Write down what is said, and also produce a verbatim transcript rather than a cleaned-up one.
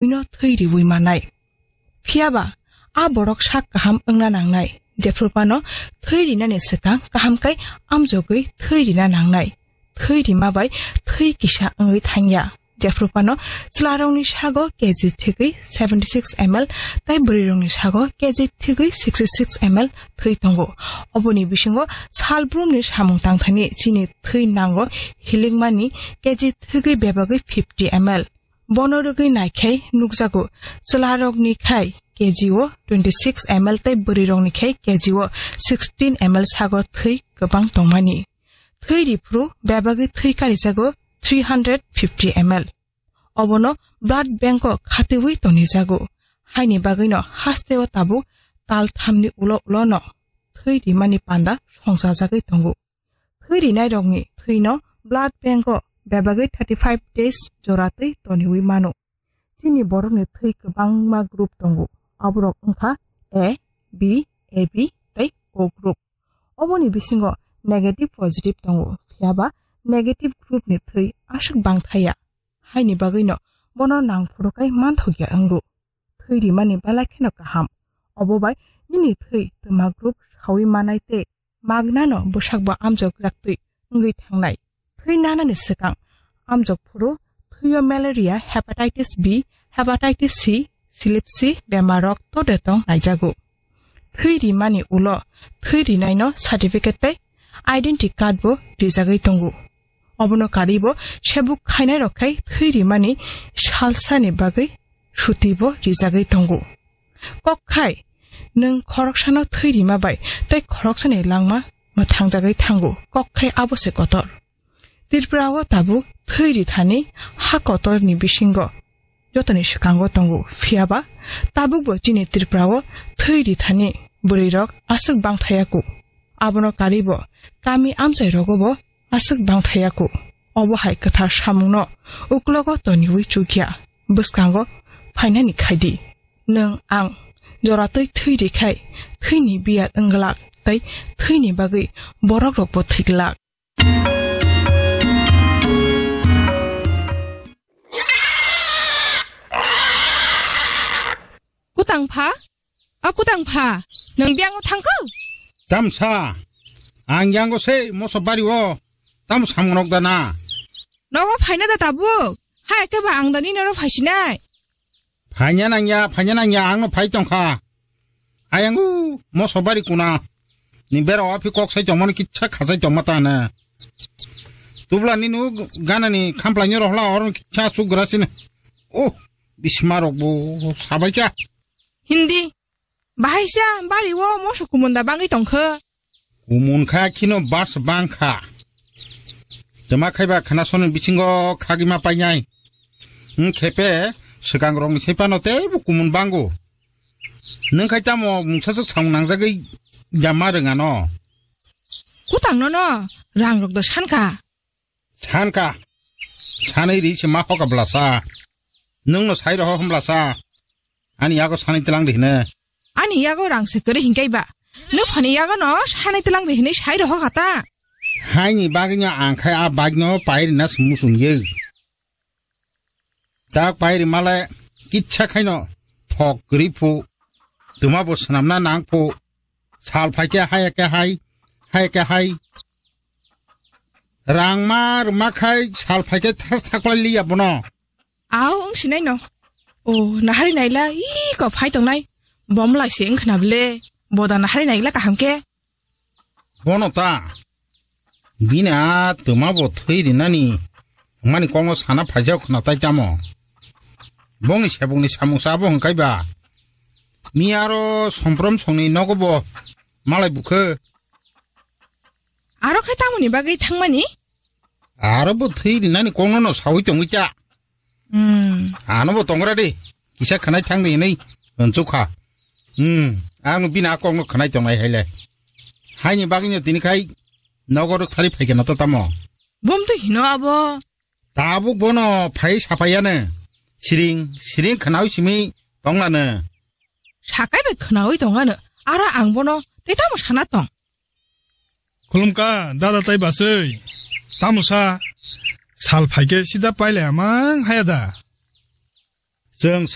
uino thwi riwi manai. Phiyaba a borok sak kaham wngna nangnai, jephru phano thwi rinani swkang kaham khe amjogwi thwi rina nangnai. Thwi rima bai thwi kisa wngwi thangya. Jephru phano chwlarokni sago K G thwgwi seventy six M L tei bwrwirokni sago K G thwgwi sixty six M L thwi tongo. Oboni bisingo salbrumni samung tangthani chini thwi nango hilikmani K G thwgwi bebagwi fifty M L. Bono rwgwi naikhai nukjago, chwlarokni khai K G o twenty six M L tei bwrwirokni khai K G o sixteen M L sago thwi kwbang tongmani. Thwi riphuru bebagwi thwi karijago three hundred fifty M L. Obono blood bank o khatiwi tonijago. Haini bagwino hasteo tabuk tal thamni ulo ulono thwi rimani panda songchajagwi tongo. Thwi rinairokni thwino blood bank o bebagwi thirty five days joratwi toniwi mano. Chini borokni thwi kwbangma group tongo. Aborok wngkha A, B, A B tei O group. Oboni bisingo negative positive tongo, phiyaba negative group ni thwi aswk bang thaya. Haini bagwino bono nangphuru kai manthokya wngo. Thwi rimani belai kheno kaham. Obo bai nini thwi twma group sawi manai tei magnano bwsakbo amjokjaktwi wngwi thangnai. Thwi nanani swkang amjok phuru thwio malaria, hepatitis B, hepatitis C, slip C bemarrok tode tong naijago. Thwi rimani ulo thwi rinaino certificate tei identity card bo rijagwi tongo. Obono karwibo sebuk khainairok khai thwi rimani salsani bagwi suti bo rijagwi tongo. Kok khai nwng khoroksano thwi rima bai tei khoroksani langma mwthangjagwi thango. Kok khai abo se kotor. Tripura o tabuk thwi rithani ha kotorni bisingo jotoni swkango tongo, phiyaba tabukbo chini Tripura o thwi rithani bwrwirok aswk bang thaya ku. Abono karwibo kami amchai rogo bo aswk bang thaya ku. Obo hai kwthar samungno uklogo toniwi chukya bwskango phainani khaidi. Nwng ang joratwi thwi rikhai thwini biyar wng glak tei thwini bagwi borokrokbo thwi glak. Kutang pha? A kutang pha? Nwng biyang thangkho? Tamsa, ang yango se moso bari o. Tamo samung rok da na? Nogo phaina da tabuk. Hai ke ba ang da ni noro phaisinai. Phaina nangya, phaina nangya, ang no phai tongkha. Ayangu, moso bari kuna. Ni bera wa phi kok sai tongmani kitsa khasai tongma ta na. Tubla ni nu gana ni khampla ni rohla oron kitsa su grasina. Oh, bisma rok bo sabai kya. Hindi. Bahaisa bari o moso kumun da bangwi tongkho. Kumun kha khino bas bang kha. Tama khaiba khana soni bisingo khagima painai. Wng khepe swkang rokni sai pano teibo kumun bango. Nwng khai tamo mungsa swk samung nangjagwi jama rwngano. Kutang nono rang rok da sankha. Sankha. Sanai ri se ma hoka blasa. Nwng no sai roho hom blasa. Ani yago sanai tlang de hine. Ani yago rang se kore hinkai ba. Nwng phani yago no sanai tlang de hine sai roho kata. Haini bagwi no ang khai a bike no pairi na sung sung ye. Tak pairi male kitsa khaino thok kwrwi phu. Tuma bo swnamna nang phu. Sal phaikhe hai khe hai, hai khe hai. Rangma rwma khai sal phaikhe thas thaklai liya bono. Au wng sinai no. O nahari naila i ko phai tongnai. Bom lai se wng khna bele. Boda nahari naila kaham khe. Bono ta. Bini a twma bo thwi rinani. Mani kokno sana phaijak khna tai tamo. Bongni sebokni samungsa abo hwnkaiba. Miyaro somprom songni nogo bo malai bukhe. Aro khe tamoni bagwi thangmani? Aro bo thwi rinani kokno no sawi tongwi ta. Hmm. Ano bo tongra de. Kisa khanai thang de hinwi hwnchukha. Hmm. Ang bini a kokno khanai tongnai haile. Haini bagwi no tini khai nogo rwk thari phaikhe no to tamo. Bom to hino abo. Tabuk bono phai saphaiya ne. Siring, siring khnawi simi tongla ne. Sakai bai khnawi tonga ne. Aro ang bono tei tamo sana tong. Khulumkha, dada tai baswi. Tamo sa, sal phaikhe sida pailai amang haya da. Chwng